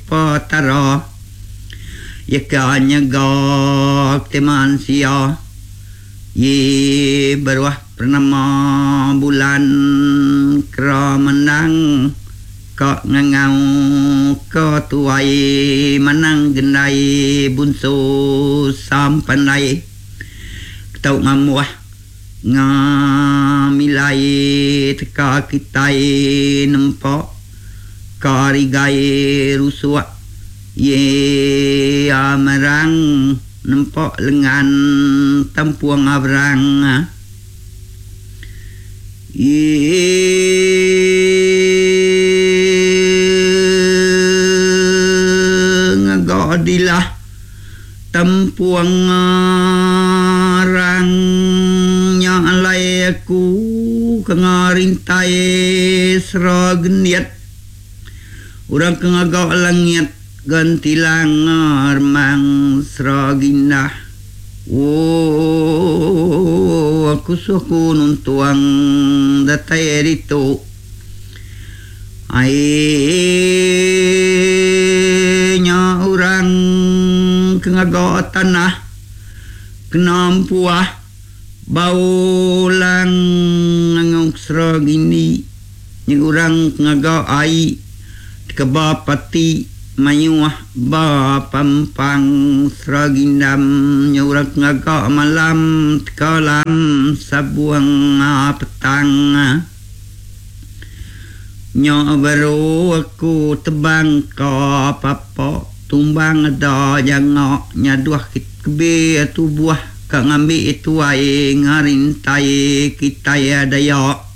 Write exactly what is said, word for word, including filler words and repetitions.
Petara ya ka nyaga te mansia ye beruah pernama bulan kera menang ka ngangau ka tuai manang gendai bunsu sampandai tau ngamuah ngamilai teka kitai nempak karigai rusuak ye amerang nempak lengan tempuang abrang ye ngagadilah tempuang arang nya alai aku ke ngarintai sera geniat orang ke ngaga langit gentilang remang sera gindah. Oh, aku suku nuntuang datai ditu ai nya orang ke ngaga tanah kena empuah bau lang ngangau sera gini nya orang ke ngaga ai keba pati mayuh ba pampang sera gindam nya orang ke ngaga malam tekalam sabuang petang nya baru aku tebang ka papa tumbang ada jangak nyaduh kebe tubuh ka ngambi tuai ngarintai kitai daya.